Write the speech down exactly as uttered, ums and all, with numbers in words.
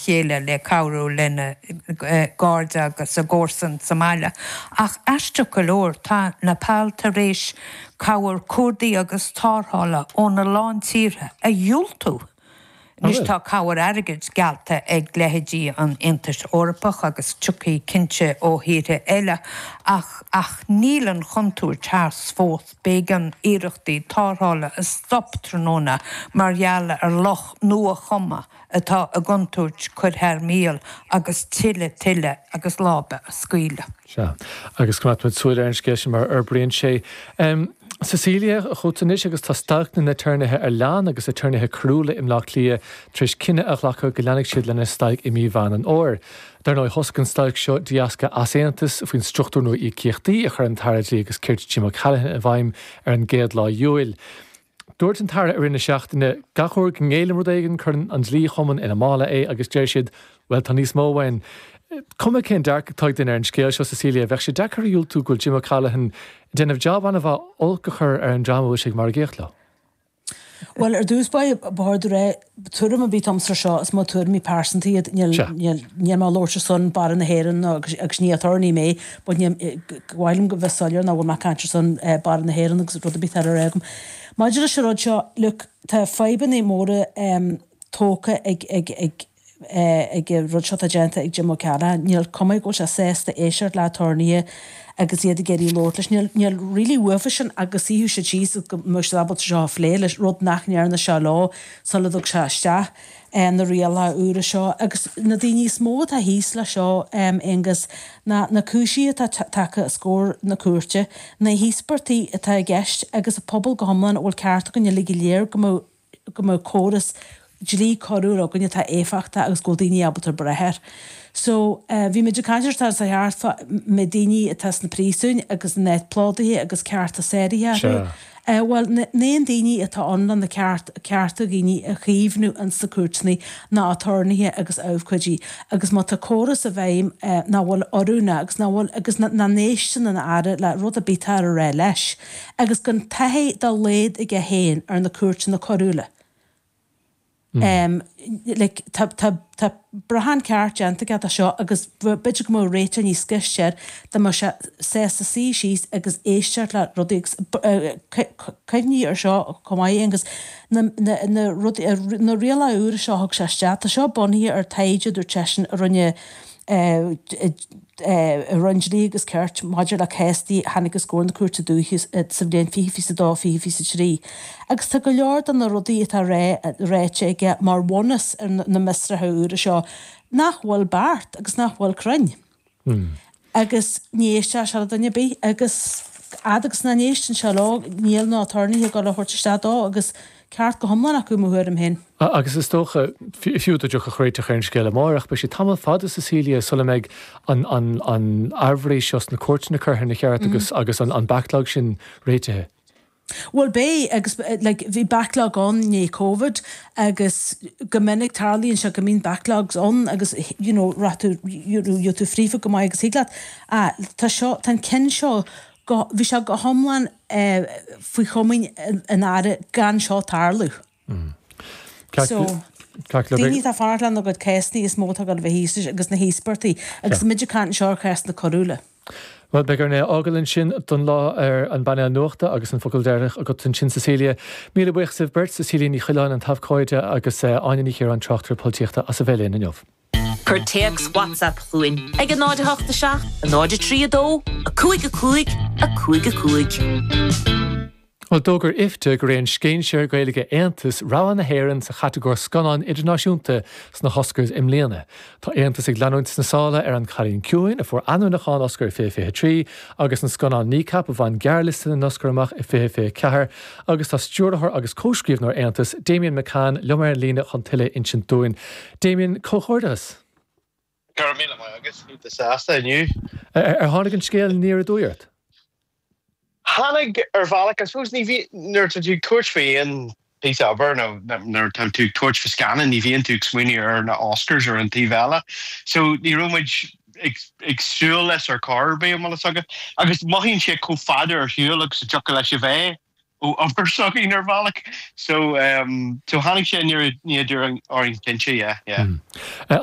chéile le cabhrú lena gcairde agus a gcomharsan sa mbaile. Ach aisteach go leor tá Nepal tar éis cabhair cuardaigh agus tarrthála óna lán tíortha a dhiúltú. Anois tá cabhair airgid geallta ag leithéidí an Aontais Eorpach agus tiocfaidh cinnte ó thíortha eile ach ach níl an chontúirt thart fós b'éigean iarrachtaí tarrthála a stop tráthnóna mar gheall ar loch nua-chumtha atá i gcontúirt cur thar maoil agus tuilleadh tuile agus láibe a scaoileadh. Sea, agus coimeádfaimid súil ar an scéal sin mar a fhorbraíonn sé. Um, Cecilia chugat anois agus tá stailc na n-aturnaetha ar lean agus aturnaetha coiriúla i mBleá Cliath tar éis cinneadh a ghlacadh go leanfaidh siad lena stailc i mí Mheán an Fhómhair. Dar ndóigh thosaigh an stailc seo de dheasca easaontas faoin struchtúr nua íocaíochtaí a chuir an tAire Dlí agus Cirt Jim O'Callaghan i bhfeidhm ar an gcéad lá Iúil. Dúirt an tAire i rith na seachtaine gach uair go ngéillim rud éigin cuireann an Dlí-Chumann ina mála é agus deir siad well tá níos mó uainn. Cuma cén dearcadh atá ag duine ar an scéal seo Cecilia, bheadh sé deacair a dhiúltú go bhfuil Jim O'Callaghan déanamh job an-mhaith olc a chur ar an dream a bhfuil sé ag margaíocht leo. Well ar dtús ba bhord ré tuairim a bhí agamsa seo is mo tuairimí pearsanta iad níl mé ag labhairt ar son Barra na hÉireann agus ní aturnae mé, but bhhailm go bheith soiléir ná bhfuil mé ag caint ar son Barra na hÉireann agus rud a bith ar agam. Maidir leis an rud seo look tá fadhbanna móra tógtha ag ag ag ag rud seo déanta ag Jim O'Callaghan, níl cuma go bhfuil sé sásta éisteacht le haturnaetha agus iad ag iarraidh labhairt leis. Níl níl really uafa sin agus suífeadh siad síos go mbeadh siad ábalta seo a phlé leis rud nach ndearna sé leo sula dtug sé isteach na rialacha úra seo agus na daoine is mó atá thíos le seo Aengus ná na cúisí atá tagtha os comhair na cúirte, na híospartaigh atá i gceist agus an pobal go hiomlán a bhfuil ceart againn uilig go léir go mbeadh go mbeadh córas dlí coiriúil againn atá éifeachtach agus go bhfuil daoine ábalta brath air. So bhí muid ag caint ar sa cheart me daoine atá sna príosúin agus na net plódaithe agus cearta sáraithe orthu. Bhuel na aon daoine atá ann le na ceart cearta daoine a chaomhnú ins na cúirteanna ná aturnaetha agus abhcóidí agus má tá córas i bhfeidhm nach bhfuil oiriúnach agus nach bhfuil agus nach n-éisteann an Aire le rud ar bith atá á rá leis agus gan taithí dá laghad aige féin ar na cúirteanna coiriúla. Um, like, tá, tá, tá brachán ceart déanta aige de seo agus b'fhéidir go mbeadh réiteach níos gaiste air dá mbeadh sé sásta suí síos agus éisteacht le rudaí agus cuimhnigh ar seo chomh maith agus na, na, na, rudaí, na rialacha úra seo thug sé isteach, tá seo bunaithe ar taighde dúirt seisean a rinne i Roinn Dlí agus Cirt maidir le céastaí a tháinig os comhair na Cúirte Dúiche sa bhliain fiche fiche dó fiche fiche trí. Agus tá go leor de na rudaí atá ráite aige mar bhunús ar na m'fhiosruithe úra seo nach bhfuil beart agus nach bhfuil cruinn. Agus ní éisteodh sé le duine ar bith agus fhad agus nach n-éisteann sé leo níl na haturnaetha ag dul a thabhairt isteach dó agus ceart go hiomlán acu mo thuairim féin. Agus is dócha fiú dá dtiocfadh réiteach ar an scéal amárach, beidh sé tamall fada Cecilia sula mbeidh an an an aimhréidh seo sna cúirteanna curtha ina cheart agus agus an an backlog sin réitithe. Well beidh agus like, bhí backlog ann i ndiaidh Covid agus go minic tarlaíonn sé go mbíonn backlogs ann agus you know, raibh tú you know, tú fríofa go maith agus thig leat ah, tá seo tá an ceann seo go bhí sé go hiomlán eh, faoi chomaoin an Aire gan seo tarlú. Mm. So daoine atá fanacht lena gcuid céasanna is mó atá ag dul a bheith thíos agus na híospartaigh agus muid ag caint anseo ar chéasanna coiriúla. Well beidh orainn é a fhágáil ansin don lá ar an bpainéal nuachta agus an focal deireanach agat ansin Cecilia. Míle buíochas libh beirt Cecilia Ní Choileáin an t-abhcóide agus Áine Ní Chiaráin tráchtaire polaitíochta as a bheith linn inniu. Cuir téacs WhatsApp chugainn ag a náid a hocht a seacht, a náid a trí a dó, a cúig a cúig, a cúig a cúig. Well d'fhógair IFTA gur é an scéinséir Gaeilge Aontas rogha na hÉireann sa chatagóir scannán idirnáisiúnta sna hOscars i mbliana. Tá Aontas ag leanúint sna sála ar An Cailín Ciúin a fuair ainmniúchán Oscar fiche fiche trí agus an scannán Kneecap a bhain gearrliosta na n-Oscar amach i fiche fiche ceathair agus tá stiúrthóir agus comhscríbhneoir Aontas Damien McCann liom ar an líne chun tuilleadh a insint dúinn. Damien comhghairdeas. Go raibh míle maith agat iontach sásta inniu. Ar tháinig an scéal aniar aduaidh ort? Tháinig ar bhealach I suppose ní bhí nuair atá tú ag tabhairt faoi aon píosa obair nó nuair atá tú ag tabhairt faoi scannán ní bhíonn tú ag smaoineamh ar na Oscars ar an taobh eile. So ní raibh muid ag ag súil leis ar chor ar bith an bhfuil a fhios agat. Agus mothaíonn sé chomh fada ar shiúl agus a dtiocfadh leis a bheith ó obair s'againn ar bhealach. So um, so tháinig sé aniar aduaidh orainn cinnte, yeah, yeah. An